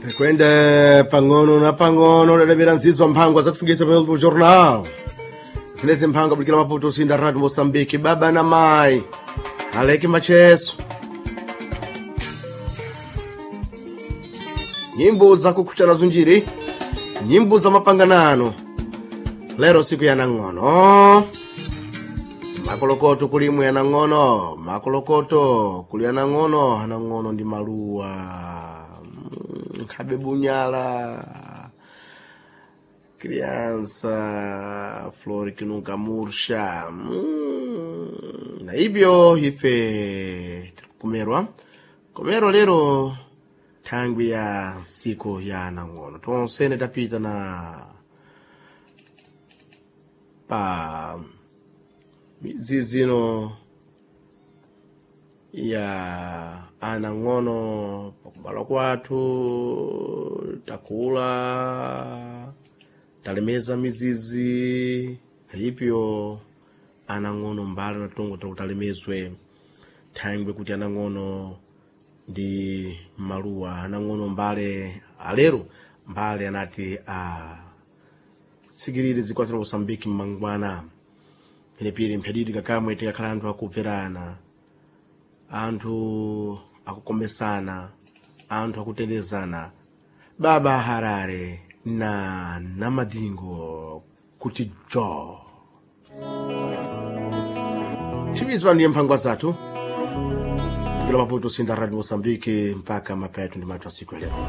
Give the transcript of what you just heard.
Kwenda pang'ono na pang'ono dadavera nzidzwa mphangwa zakufungisa pamene jornal zinezi mphangwa bulikira Maputo usinda Radio Moçambique. Baba na mai aleke macheso, nyimbo zakukhucha nazo njiri, nyimbo za mapanganano. Lero siku ya nang'ono, makolokoto kulimwe ya nang'ono, makolokoto kuli ya nang'ono. Anang'ono ndi maluwa, nkhabe bunyala criança flor que nunca murcha. Na ibyo ife tikumerwa komero lero thangwi ya siku ya nang'ono. Tonsene tapita na pa midzizino ya anang'ono pakubalwa kwathu, takula, talemeza mizizi ipyo anang'ono mbali na tongo takutalemezwe thangwe kuti anang'ono ndi maluwa. Anang'ono mbale alero mbale anati a tsikirire zikwatira Mosambiki mmangwana penepiri mphadidi kakamwe tikakhala anthu akubverana, anthu akukomesana, anthu akutendezana. Baba Harare na Namadingo kuti jo chimizwa ndiye mphangwa zathu kila Maputo sinda Radio Mosambiki mpaka mapeto ndi matu asiku lero.